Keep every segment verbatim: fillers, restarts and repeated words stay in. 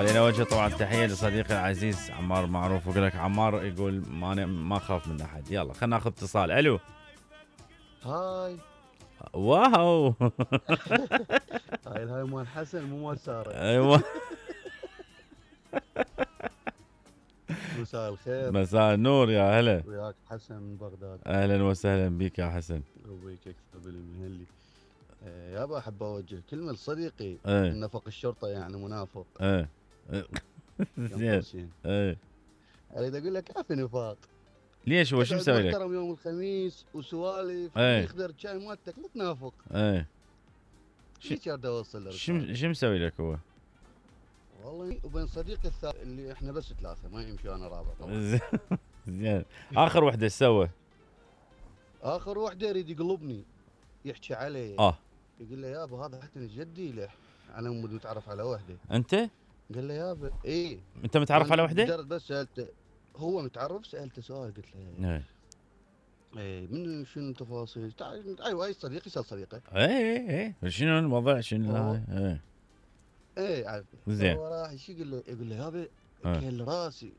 خلينا اوجه طبعا تحيه لصديقي العزيز عمار معروف. يقول لك عمار يقول ما ما اخاف من احد. يلا خلينا ناخذ اتصال. الو. هاي. واو. هاي هاي مال حسن مو مال ساره. ايوه. مساء الخير. مساء النور يا هلا. وياك حسن من بغداد. اهلا وسهلا بك يا حسن. وبيك اكثر بالمهلي. يابا احب اوجه كلمه لصديقي ايه. نفق الشرطه يعني منافق. ايه زين. ايه اريد اقول لك كافي نفاق. ليش هو شو مسوي لك؟ محترم يوم الخميس وسوالف ايه. يخدر شاي مالتك لا تنافق. ايه ايش اريد اوصل لك؟ شو شو مسوي لك هو؟ والله وبين صديقي الثالث اللي احنا بس ثلاثه ما يمشي انا رابع طبعا. زين. اخر وحده ايش سوى؟ اخر وحده يريد يقلبني يحكي علي. اه يقول له يابا هذا حتى جدي له انا مو متعرف على وحده. انت؟ قال له يابا ايه. انت متعرف على وحده؟ مجرد بس سالته هو متعرف سالته سؤال قلت له ايه ايه من شنو تفاصيل؟ ايوه اي صديقي يسال صديقه. ايه ايه شنو الوضع شنو؟ ايه ايه عارف. زين. هو راح ايش يقول له؟ يقول له يابا اكل راسي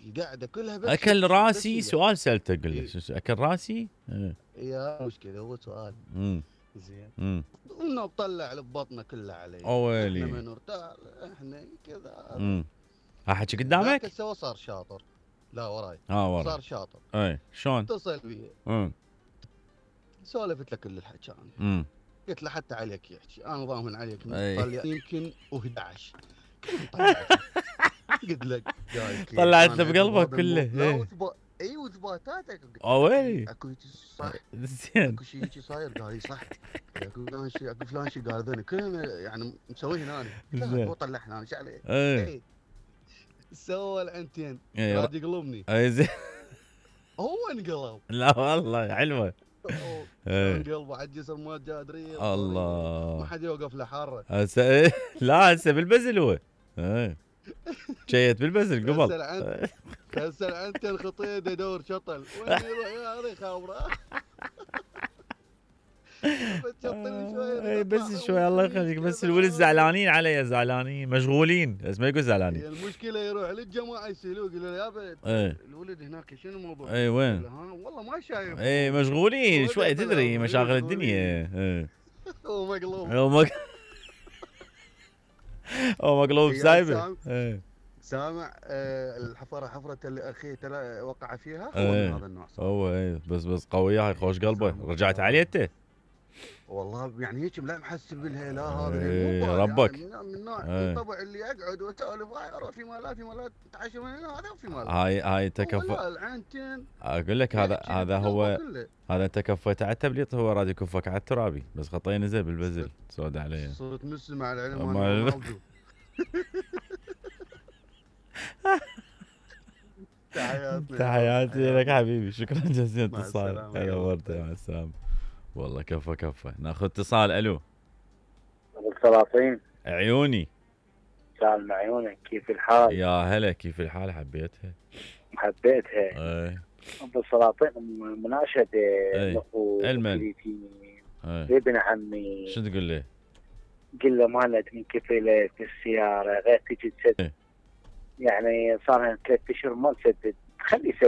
القعده كلها بس اكل راسي. بس سؤال سالته قل له إيه؟ اكل راسي؟ ايه يا مشكله هو سؤال. امم زين. امم انه طلع لبطنه كلها علي. اويلي احنا ما نرتاح احنا كذا. امم ها حكي قدامك؟ لكن سوى صار شاطر. لا وراي. اه وراي. صار شاطر. اي شلون؟ اتصل بي. امم سولفت له كل الحكي انا. امم قلت له حتى عليك يحكي انا ضامن عليك أي. طلع يمكن و11. قلت لك طلعت له بقلبك كله. لا اي وثباتاتك. اويلي اكو صح. زين. اكو شيء شيء صاير قال لي صح. اكو فلان شيء اكو فلان شيء قال ذولي كلهم يعني مسويه هنا. لا هو طلع هنا ايش عليه؟ اي سوى العنتين. اي راد يقلبني. اي زين. هو انقلب. لا والله حلوه. انقلب على الجسر ما جادري. الله ما حد يوقف له حاره. هسه لا هسه بالبزل هو. اي شيت بالبزل قبل. هسه العنتين خطيد يدور شطل وين يروح يا اخي خابره. اي بس شوي الله يخليك. بس الولد زعلانين علي زعلانين مشغولين بس ما يقول زعلانين. المشكله يروح للجماعه يسالوه يقول له يابا الولد هناك شنو الموضوع؟ اي وين؟ والله ما شايف. اي مشغولين شوي تدري مشاغل الدنيا. اي هو مقلوب. هو مقلوب. هو مقلوب سايبه. سامع الحفره حفره اللي اخيه ترى وقع فيها هو ايه. من هذا النوع. هو اي بس بس قويه هاي خوش قلبه. رجعت عليه انت؟ والله يعني هيك لا محسب بالها لا هذا ايه ربك. يعني من النوع الطبع اللي اقعد واسولف هاي اروح في مالات في مالات اتعشى من هنا هذا في مالات. هاي هاي تكفى. لا العنتين اقول لك هذا هذا هو هذا انت كفيت على التبليط هو راد يكفك على الترابي بس خطيه نزل بالبزل سود عليه. صرت مسلم مع العلم ما موجود. تحياتي تحياتي لك حبيبي. شكرا جزيلا اتصال. هلا ورده مع السلامه. والله كفى كفى. ناخذ اتصال. الو. ابو السلاطين. عيوني. سالم عيونك كيف الحال؟ يا هلا كيف الحال؟ حبيتها حبيتها. ايه ابو السلاطين مناشده ايه المن ابن عمي. شو تقول له؟ قل له مالت من كفيله في السياره غير تجي تسدد. ايه. يعني صار لها ثلاث اشهر ما تسدد خلي يسدد.